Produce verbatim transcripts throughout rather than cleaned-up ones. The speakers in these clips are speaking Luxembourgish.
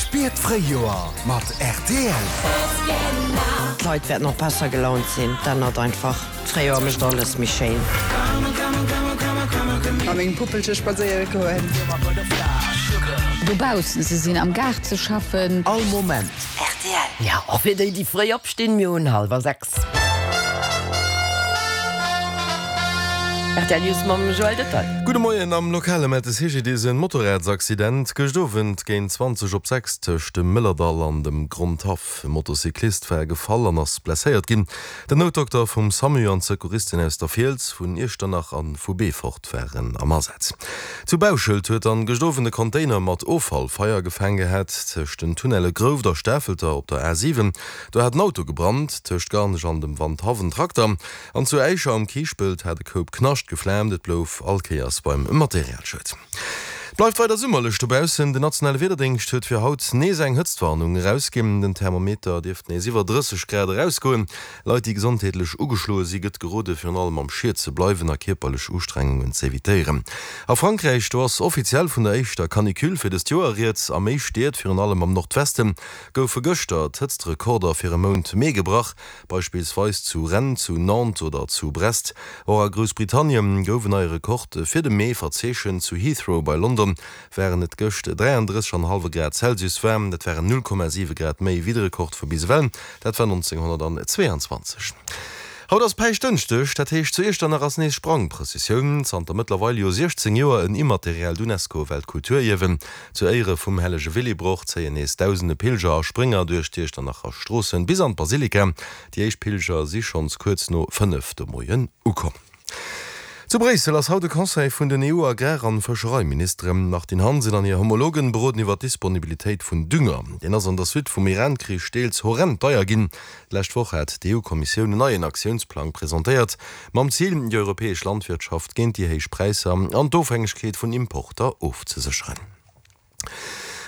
Spier d'Fréijoer mat rtl. D'Leit wäerten och besser gelaunt sinn, dat ännert einfach. D'Fréijoer mécht alles méi schéin. Mat mengem Puppelche spadséiere goen. Dobaussen ze sinn, am Gaart ze schaffen. All Moment. Rtl. Ja, och fir déi, déi fréi opstinn, mir hunn hallwer sechs. Rtl News mam Joël Detail. Gudde Moien, Am Lokale mellt de C G D S en Motorradsaccident gëscht Owend géint zwanzeg op sechs tëscht dem Mëllerdall an dem Grondhaff. E Motocyclist war gefall an ass blesséiert ginn. Den Noutdokter vum SAMU an d'Secouristen aus der Fiels, vun Iechternach an vu Beefort waren am Asaz. Zu Bauschelt huet dann gëscht Owend e Container mat Offall Feier gefaang gehat tëscht den Tunnelle Grouft a Stafelter op der A siwen. Do hat en Auto gebrannt, tëscht Garnech an dem Wandhaff en Trakter an zu Äischer am Kiischpelt hat e Koup Knascht geflaamt. Et blouf all Kéiers beim Materialschued. Et bleift weider summerlech dobaussen. Den nationale Wiederdéngscht huet fir haut nees eng Hëtztwarnung erausginn. Den Thermometer dierft nees iwwer drësseg Grad erausgoen. Leit, déi gesondheetlech ugeschloe si gëtt gerode virun allem am Schiet ze bleiwen a kierperlech Ustrengungen z'evitéieren. A Frankräich, do ass offiziell vun der éischter Canicule fir dëst Joer rieds. A méi Stied, virun allem am Nordwesten, goufe gëschter d'Hëtztrekorder fir e Mount Mee gebrach, beispillsweis zu Rennes, zu Nantes oder zu Brest. Och a Groussbritannien gouf en neie Rekord fir de Mee verzeechent, zu Heathrow bei London waren et gëscht dräiandrësseg an e hallwe Grad Celsius waarm, dat waren null Komma siwe Grad méi wéi de Rekord vu bis ewell, dat war nonzénghonnertzweeanzwanzeg. Haut ass Päischtdënschdeg, dat heescht zu Iechternach ass nees Sprangprëssessioun. Zanter mëttlerweil jo siechzéng Joer en immateriellt Unesco-Weltkulturierwen. Zu Éiere vum hellege Willibrord zéien nees dausende Pilger a Sprénger duerch d'Iechternacher Stroossen bis an d'Basilika. Déi éischt Pilger si schonns kuerz no fënnef de Moien ukomm. Zu Bréissel ass haut de Conseil vun den E U-Agrar an Fëschereiministeren. D'Martine Hansen an hir Homologen beroden iwwer d'Disponibilitéit vun Dünger. Deen ass an der Suite vum Iran-Krich deels horrend deier ginn. D'lescht Woch hat d'E U-Kommissioun en neien Aktiounsplang presentéiert, mam Zil, déi europäesch Landwirtschaft géint déi héich Präisser an d'Ofhängegkeet vun Importer ofzesécheren.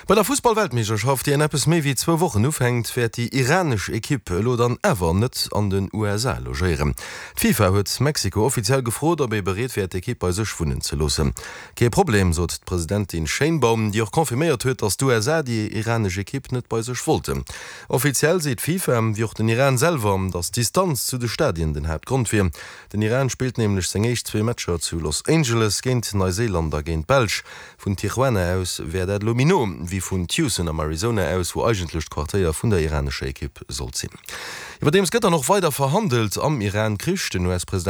Bei der Fussball-Weltmeeschterschaft, déi an eppes méi wéi zwou Wochen ufänkt, wäert déi iranesch Ekipp elo dann awer net an den U S A logéieren. D'FIFA huet Mexiko offiziell gefrot, ob ee bereet wär, d'Ekipp bei sech wunnen ze loossen. Kee Problem, sot d'Presidentin Sheinbaum, déi och confirméiert huet, datt d'U S A déi iranesch Ekipp net bei sech wollten. Offiziell seet d'FIFA, wéi och den Iran selwer, datt d'Distanz zu de Stadien den Haaptgrond wier. Den Iran spillt nämlech seng éischt zwee Matcher zu Los Angeles géint Neuseeland a géint d'Belsch. Vun Tijuana aus wär dat elo méi no wéi vun Tucson am Arizona aus, wou eigentlech d'Quartéier vun der iranescher Ekipp sollt sinn. Iwwerdeems gëtt dann och weider verhandelt am Iran-Krich. Den U S-President